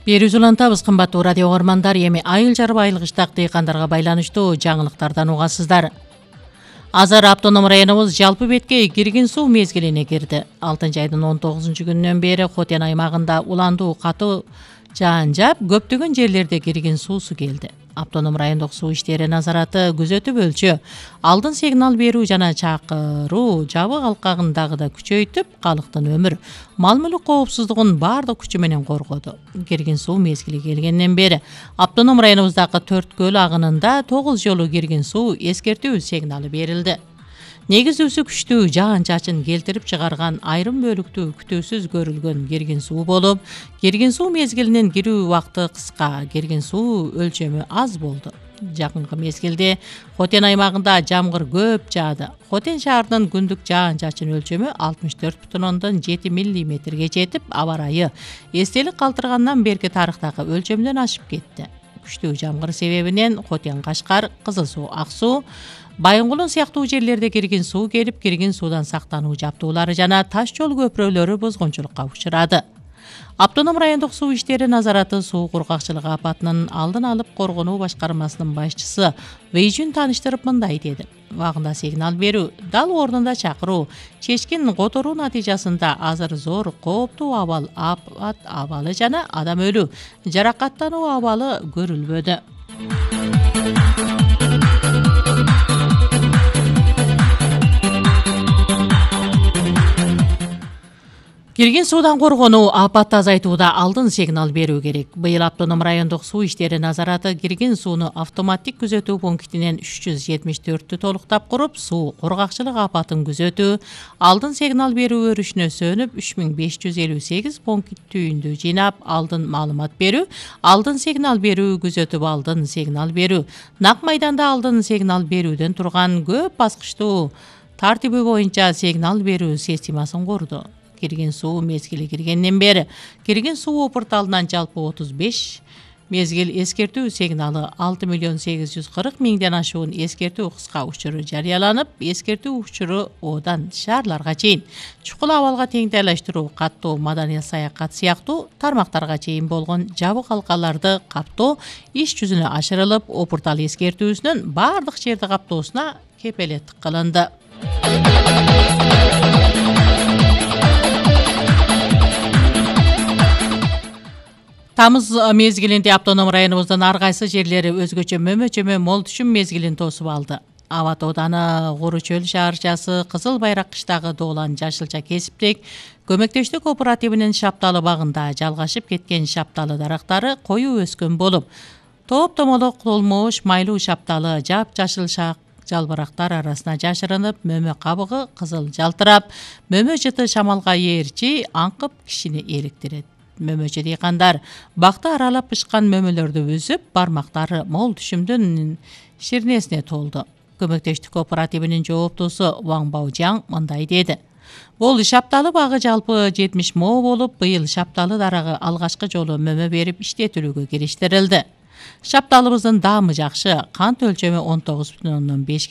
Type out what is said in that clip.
Берүүs улантабыз, кымбаттуу радио угармандар. Эми айыл жарып айылгычтак дыйкандарга байланыштуу жаңылыктардан угасыздар. Азыр автоном районубуз жалпы бетке киргин суу мезгилине кирди. 6-айдын 19-күнүнөн бери Хотен аймагында уландуу катуу жаан жаап, көптөгөн жерлерде киргин суусу келди. Автоном райондук суу иштери назараты күзөтүп өлчө, алдын сигнал берүү жана чакыруу жабык алкагын да күчөйтүп, калктын өмүр, мал-мүлк коопсуздугун баардык күчү менен коргоду. Киргин суу мезгили келгенден бери автоном районубуздагы 4 көл агынында 9 жолу киргин суу эскертүү сигналы берилди. Негиздүүсү күчтүү жаан-чачын келтирип чыгарган айрым бөлүктүү күтүүсүз көрүлгөн киргин суу болуп, киргин суу мезгилинен кирүү убакыты кыска, киргин суу өлчөмү аз болду. Жакынкы мезгилде Хотен аймагында жамгыр көп жаады. Хотен шаарынын күндүк жаан-чачын өлчөмү 64,7 миллиметрге жетип, аба ырайы эстелик калтыргандан берки тарыхтагы өлчөмдөн ашып кетти. Күчтүү жамгыр себебинен Хотен, Кашкар, Кызыл суу, Ак суу, Байынгулун сыяктуу жерлерде киргин суу келип, киргин суудан сактануу жабдуулары жана таш жол көпүрөлөрү бузгунчулукка учурады. Автоном райондук суу иштери назараты суу кургакчылыгы апатынын алдын алып коргонуу башкармасынын башчысы Вейжүн таныштырып мындай деди. Убагында сигнал берүү, дал ордунда чакыруу, чечкин которуу натыйжасында азыр зор кооптуу апат абалы жана адам өлүү, жаракаттануу абалы көрүлбөдү. Киргин суудан коргонуу, апатты азайтууда алдын сигнал берүү керек. Быйыл автоном райондук суу иштери назараты киргин сууну автоматтик күзөтүү пунктинен 374-тү толуктап куруп, суу кургакчылык апатын күзөтүү, алдын сигнал берүү өрүшүнө сөнүп, 3558 пункт түйүндү жыйнап, алдын маалымат берүү, алдын сигнал берүү, күзөтүп алдын сигнал берүү, нак майданда алдын сигнал берүүдөн турган көп баскычтуу тартиби боюнча сигнал берүү системасын курду. Киргин суу мезгили киргенден бери киргин суу порталынан жалпы 35 мезгил эскертүү сигналы, 6,840,000ден ашуун эскертүү кыска учуру жарыяланып, эскертүү учуру одан шаарларга чейин, чукул абалга теңдейлештирүү, каттоо, маданий саякат сыяктуу тармактарга чейин болгон жабык алкаларды каптоо иш жүзүнө ашырылып, опуртал эскертүүсүнүн баардык жерди каптоосуна кепелеттик кылынды. Тамыз мезгилинде автоном районубуздун ар кайсы жерлери өзгөчө мөмө-чөмө мол түшүм мезгилин тосуп алды. Аба тооданы, Куру чөл шаарчасы, Кызыл Байрак кыштагы Доолан Жашылча кесиптик көмөктөштүк кооперативинин Шапталы багында жалгашып кеткен шапталы дарактары коюу өскөн болуп, топ-томолок толмош майлуу шапталы жап-жашыл жалбырактар арасына жашырынып, мөмө кабыгы кызыл жалтырап, мөмө жыты шамалга ээрчи аңкып кишини иликтирет. Мөмөчү дыйкандар бакты аралап пышкан мөмөлөрдү үзүп, бармактары мол түшүмдүн ширнесине толду. Көмөктөштүк кооперативинин жооптуусу Ваң Баужаң мындай деди. Бул шапталы багы жалпы 70 мо болуп, быйыл шапталы дарагы алгачкы жолу мөмө берип иштетүүгө кириштирилди. Шапталыбыздын даамы жакшы, кант өлчөмү 19,5